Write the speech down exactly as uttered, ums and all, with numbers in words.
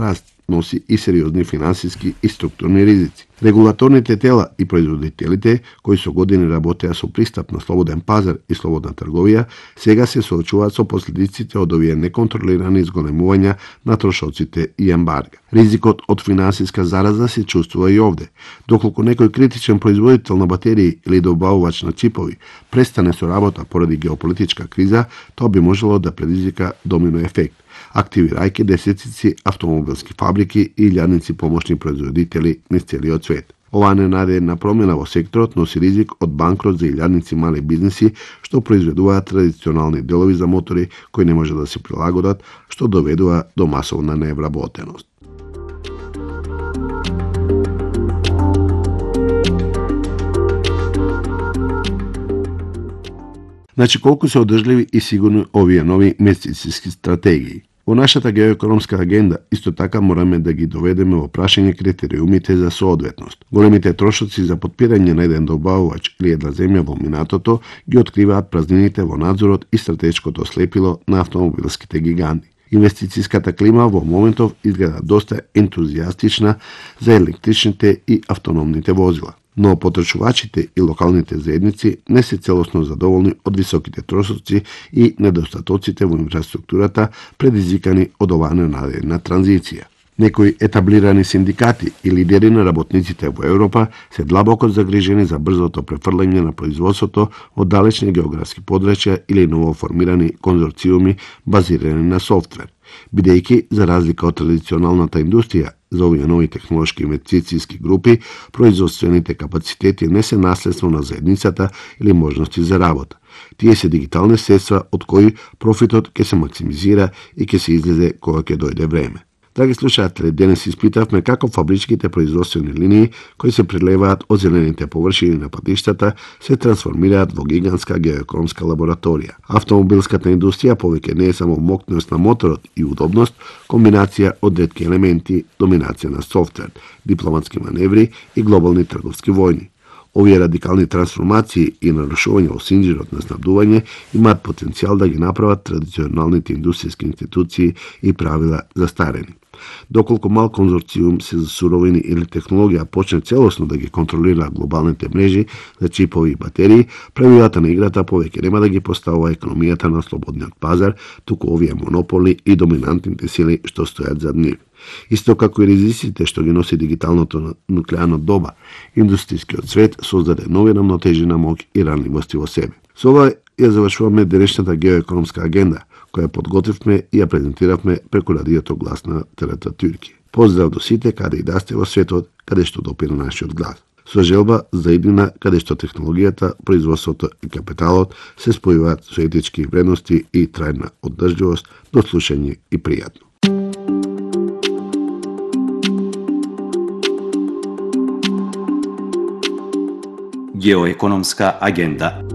раст носи и сериозни финансиски и структурни ризици. Регулаторните тела и производителите, кои со години работеа со пристап на слободен пазар и слободна трговија, сега се соочуваат со последиците од овие неконтролирани изголемувања на трошоците и ембарга. Ризикот од финансиска зараза се чувствува и овде. Доколку некој критичен производител на батерии или добавувач на чипови престане со работа поради геополитичка криза, тоа би можело да предизвика домино ефект, активирајќи десетици автомобилски фабрики и илјадници помошни производители низ целиот свет. Оваа ненадејна промена во секторот носи ризик од банкрот за илјадници мали бизниси што произведуваат традиционални делови за мотори кои не може да се прилагодат, што доведува до масовна невработеност. Значи, колку се одржливи и сигурни овие нови инвестициски стратегии? Во нашата геоекономска агенда исто така мораме да ги доведеме во прашање критериумите за соодветност. Големите трошоци за подпирање на еден добавувач или една земја во минатото ги откриваат празнините во надзорот и стратешкото слепило на автомобилските гиганти. Инвестицијската клима во моментов изгледа доста ентузијастична за електричните и автономните возила. Но потребувачите и локалните заедници не се целосно задоволни од високите трошоци и недостатоците во инфраструктурата предизвикани од оваа ненадејна транзиција. Некои етаблирани синдикати и лидери на работниците во Европа се длабоко загрижени за брзото префрлање на производството од далечни географски подрачја или новоформирани конзорциуми базирани на софтвер, бидејќи за разлика од традиционалната индустрија, за овие нови технолошки инвестицијски групи, производствените капацитети не се наследство на заедницата или можности за работа. Тие се дигитални средства од кои профитот ќе се максимизира и ќе се излезе кога ќе дојде време. Драги слушатели, денес испитавме како фабричките производствени линии кои се прелеваат од зелените површини на патиштата се трансформираат во гигантска геоекономска лабораторија. Автомобилската индустрија повеќе не е само моќност на моторот и удобност, комбинација од ретки елементи, доминација на софтвер, дипломатски маневри и глобални трговски војни. Овие радикални трансформации и нарушување во синџирот на снабдување имаат потенцијал да ги направат традиционалните индустријски институции и правила застарени. Доколку мал конзорциум се за суровини или технологија почне целосно да ги контролира глобалните мрежи за чипови и батерии, правилата на играта повеќе нема да ги поставува економијата на слободниот пазар, туку овие монополи и доминантните сили што стојат зад нив. Исто како и ризиците што ги носи дигиталното нуклеарно доба, индустријскиот свет создаде нови рамнотежи на моќ и ранливости во себе. Со ова ја завршуваме денешната геоекономска агенда, која подготвивме и ја презентиравме преку радиото Глас на Терета Турки. Поздрав до сите каде и да сте во светот, каде што допира нашиот глас. Со желба за иднина каде што технологијата, производството и капиталот се спојуваат со етички вредности и трајна оддржливост, до слушање и пријатно. Геоекономска агенда.